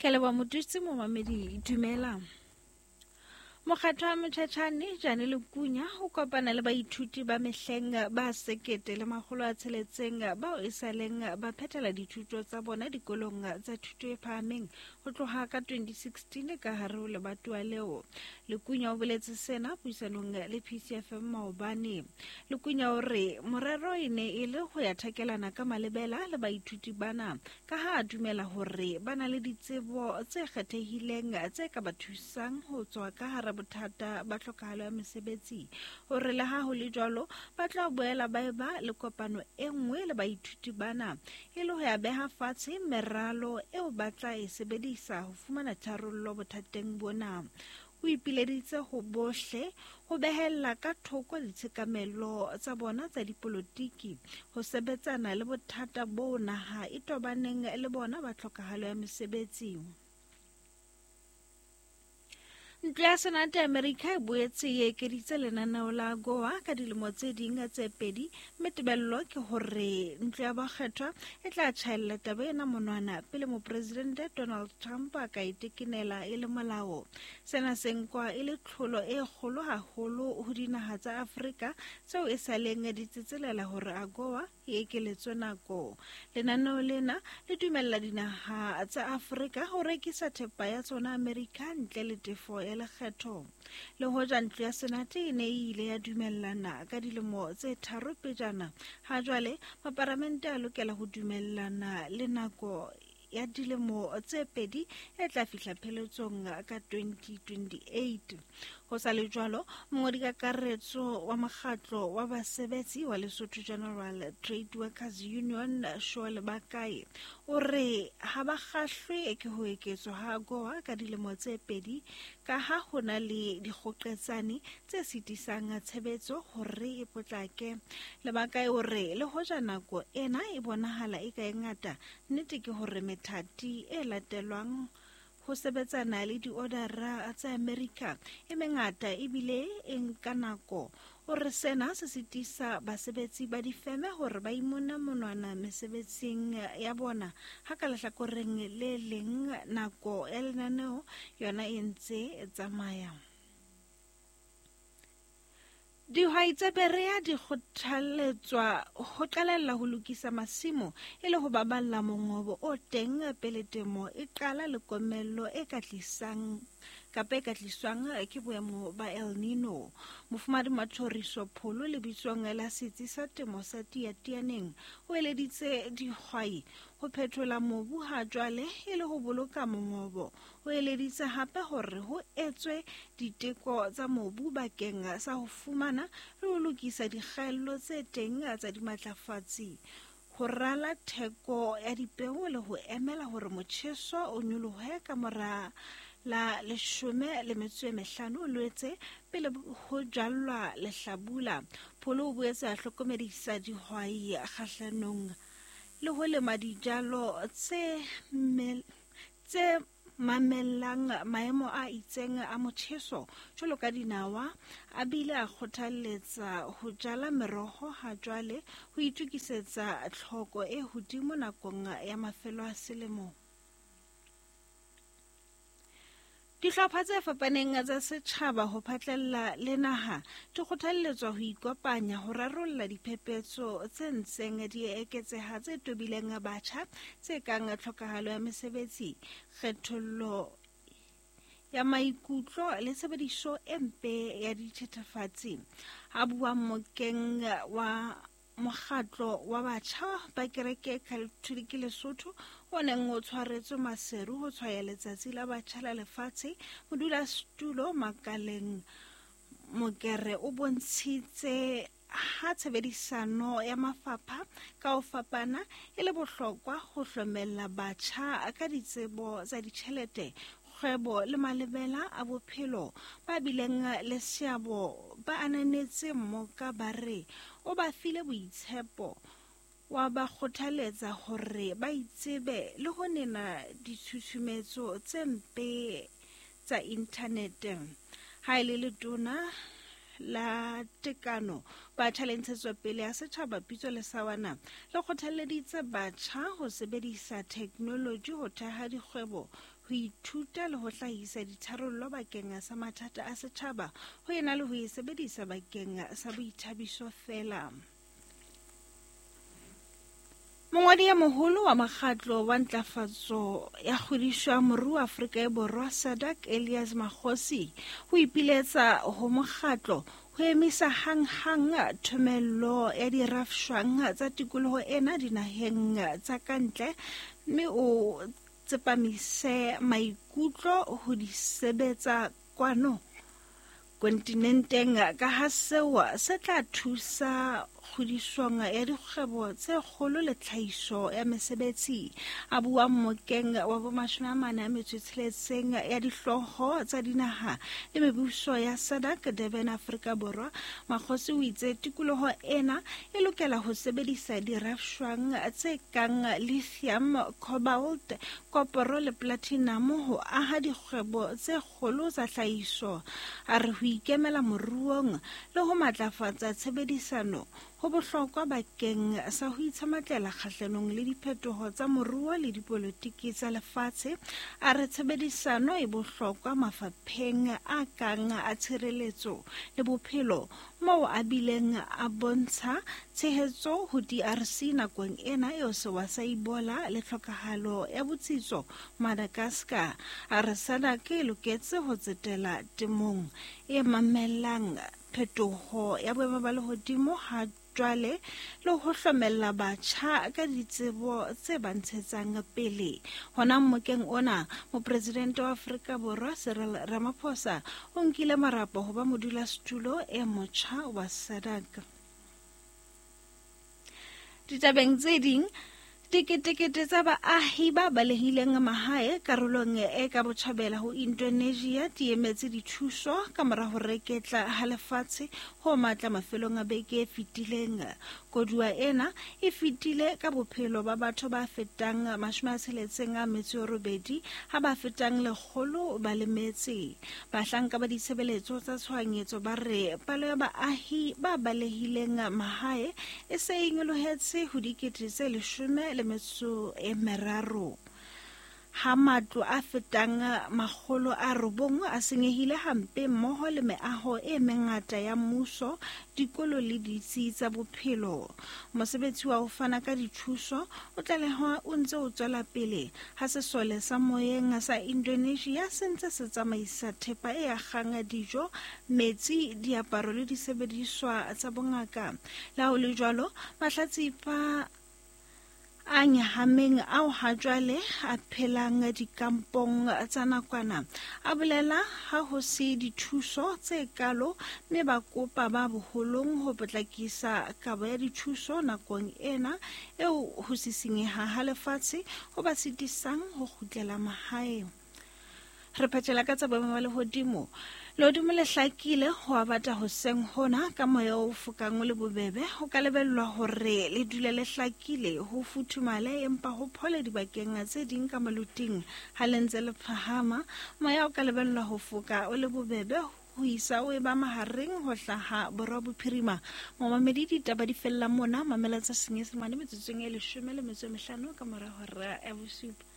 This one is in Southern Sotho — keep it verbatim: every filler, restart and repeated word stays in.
Ke leboha Motutsi momamedi, dumela. Mokgatlo wa Motjhatjhane Jane Lekunya o kopana le baithuti ba mehleng ba sekete le makgolo a tsheletseng bao e saleng ba phethela dithuto tsa bona dikolong tsa thuto e phahameng ho tloha ka twenty sixteen ka hare ho lebatowa leo. Lekunya o boletse sena puisanong le P C F M maobane. Lekunya o re morero e ne e le ho ya thakelana ka malebela le baithuti bana ka ha a dumela hore ba na le ditsebo tse kgethehileng tse ka ba thusang ho tswa ka hara bothata ba tlhokahalo ya mesebetsi. Hore le ha ho le jwalo ba tla boela ba eba le kopano e nngwe le baithuti bana e le ho ya beha fatshe meralo eo ba tla e sebedisa ho fumana tharollo bothateng bona. O ipileditse ho bohle ho behella ka thoko ditshekamelo tsa bona tsa dipolotiki ho sebetsana le bothata bo naha e tobaneng le bona ba tlhokahalo ya mesebetsi. Ntlo ya Senate ya Amerika e boetse e ekeditse lenaneo la A G O A ka dilemo tse ding tse pedi, mme tebello ke hore ntlo ya bakgethwa e tla tjhaella taba ena monwana pele mopresidente Donald Trump a ka e tekenela e le molao. Sena se nkwa e le tlholo e kgolo haholo ho dinaha tsa Afrika tseo e saleng di tsetselela hore A G O A e ekeletswe nako. Lenaneo lena le dumella dinaha tsa Afrika ho rekisa thepa ya tsona Amerika ntle le tefo ya lekgetho. Le hoja ntlo ya Senate e ne e ile ya dumellana ka dilemo tse tharo pejana, ha jwale maparamente a lokela ho dumellana le nako ya dilemo tse pedi e tla fihla pheletsong ka twenty twenty-eight. Ho sa le jwalo, mongodikakaretso wa mokgatlo wa basebetsi wa Lesotho General Trade Workers Union Shole Bakae o re ha ba kgahlwe ke ho eketswa ha A G O A ka dilemo tse pedi ka ha ho na le dikgoqetsane tse sitisang tshebetso hore e potlake. Lebakae o re le hoja nako ena e bonahala e ka e ngata, nnete ke hore methati e latelwang ho sebetsana le diodara tsa Amerika e mengata ebile e nka nako. O re sena se sitisa basebetsi ba difeme hore ba imone monwana mesebetsing ya bona, ha ka lehlakoreng le leng nako ya lenaneo yona e ntse e tsamaya. Dihwai tsa Berea di kgothaletswa ho qalella ho lokisa masimo e le ho baballa mongobo o teng pele temo e qala le komello e ka tlisang kapa e ka tliswang ke boemo ba El Nino. Mofumahadi Mathoriso Pholo lebitsong la setsi sa temo sa Tiatianeng o eleditse dihwai ho phethola mobu ha jwale e le ho boloka mongobo. O eleditse hape hore ho etswe diteko tsa mobu bakeng sa ho fumana le ho lokisa dikgaello tse teng tsa dimatlafatsi, ho rala theko ya dipeo le ho emela hore motjheso o nyolohe ka mora la leshome le metso e mehlano Loetse pele ho jallwa lehlabula. Pholo o boetse a hlokomedisa dihwai kgahlanong le ho lema dijalo tse tse mamellang maemo a itseng a motjheso jwalo ka dinawa, a bile a kgothalletsa ho jala meroho ha jwale ho itokisetsa tlhoko e hodimo nakong ya mafelo a selemo. Dihlopha tse fapaneng tsa setjhaba ho phatlalla le naha di kgothalletswa ho ikopanya ho rarolla diphephetso tse ntseng di eketseha tse tobileng batjha tse kang tlhokahalo ya mesebetsi, kgethollo ya maikutlo le tshebediso e mpe ya dithethefatsi. A bua mokeng wa mokgatlo wa batjha ba kereke Katholike Lesotho o neng o tshwaretswe Maseru ho tshwaya letsatsi la batjha la lefatshe, modulasetulo Makaleng Mokere o bontshitse ha tshebedisano ya mafapha ka ho fapana e le bohlokwa ho hlomella batjha ka ditsebo tsa ditjhelete, kgwebo le malebela a bophelo. Ba bileng le seabo ba ananetse mmoka ba re o ba file boitshepo, wa ba kgothaletsa hore ba itsebe le ho nena ditshusumetso tse mpe tsa inthanete. Ha e le letona la Tekano, Batjha le Ntshetsopele ya Setjhaba Pitso Lesawana le kgothalleditse batjha ho sebedisa theknoloji ho theha dikgwebo, ho ithuta le ho hlahisa ditharollo bakeng sa mathata a setjhaba ho ena le ho e sebedisa bakeng sa boithabiso feela. Mongwadi ya moholo wa mokgatlo wa ntlafatso ya kgodiso ya moruo Afrika e Borwa SADC Elias Makgosi ho ipiletsa ho mokgatlo ho emisa hang-hang thomello ya dirafshwang tsa tikoloho ena dinaheng tsa kantle mme o tsepamise maikutlo ho di sebetsa kwano kontinenteng ka ha seo se tla thusa kgodisong ya dikgwebo tse kgolo le tlhahiso ya mesebetsi. A bua mmokeng wa bomashome a mane a metso e tsheletseng ya dihlooho tsa dinaha le mebuso ya SADC Durban Afrika Borwa, Makgosi o itse tikoloho ena e lokela ho sebedisa dirafshwang tse kang lithium, cobalt, koporo le platinum ho aha dikgwebo tse kgolo tsa tlhahiso. A re ho ikemela moruong le ho matlafatsa tshebedisano ho bohlokwa bakeng sa ho itshematlela kgahlanong le diphetoho tsa moruo le dipolotiki tsa lefatshe. A re tshebedisano e bohlokwa mafapheng a kang a tshireletso le bophelo, moo a bileng a bontsha tshehetso ho D R C nakong ena eo sewa sa Ebola le tlhokahalo ya botsitso Madagascar. A re SADC e loketse ho tsetela temong e mamellang phetoho ya boemo ba lehodimo ha jwale le ho hlomella batjha ka ditsebo tse ba ntshetsang pele. Hona mmokeng ona, mopresidente wa Afrika Borwa Cyril Ramaphosa o nkile marapo ho ba modulasetulo e motjha wa SADC. Ditabeng tse ding, diketekete tsa baahi ba balehileng mahae karolong e ka botjhabela ho Indonesia di emetse dithuso ka mora ho reketla ha lefatshe ho matla mafelong a beke e fetileng. Koduwa ena e fetile ka bophelo ba batho ba fetang mashome a tsheletseng a metso e robedi ha ba fetang lekgolo ba lemetse. Bahlanka ba ditshebeletso tsa tshohanyetso ba re palo ya baahi ba balehileng mahae e se e nyolohetse ho dikete tse leshome le metso e meraro. Ha matlo a fetang makgolo a robong a senyehile hampe mmoho le meaho e mengata ya mmuso, dikolo le ditsi tsa bophelo. Mosebetsi wa ho fana ka dithuso o tlalehwa o ntse o tswela pele ha sesole sa moyeng sa Indonesia se ntse se tsamaisa thepa e akgang dijo, metsi, diaparo le disebediswa tsa bongaka. Le ha ho le jwalo, mahlatsipa a nyahameng ao ha jwale a phelang dikampong tsa nakwana a bolela ha ho se dithuso tse kalo mme ba kopa ba boholong ho potlakisa kabo ya dithuso nakong ena eo ho sisinyeha ha lefatshe ho ba sitisang ho kgutlela mahae. Re phethela ka tsa boemo ba lehodimo. Lehodimo le hlakile ho a bata hoseng hona ka moya o fokang o le bobebe. Ho ka lebellwa hore le dule le hlakile, ho futhumale empa ho phole dibakeng tse ding ka maloting. Ha le ntse le phahama, moya o ka lebellwa ho foka o le bobebe ho isa o eba mahareng ho hlaha borwa bophirima. Momamedi, ditaba di fella mona. Mamela tsa Senyesemane metsotsong e leshome le metso e mehlano ka mora hora ya bosupa.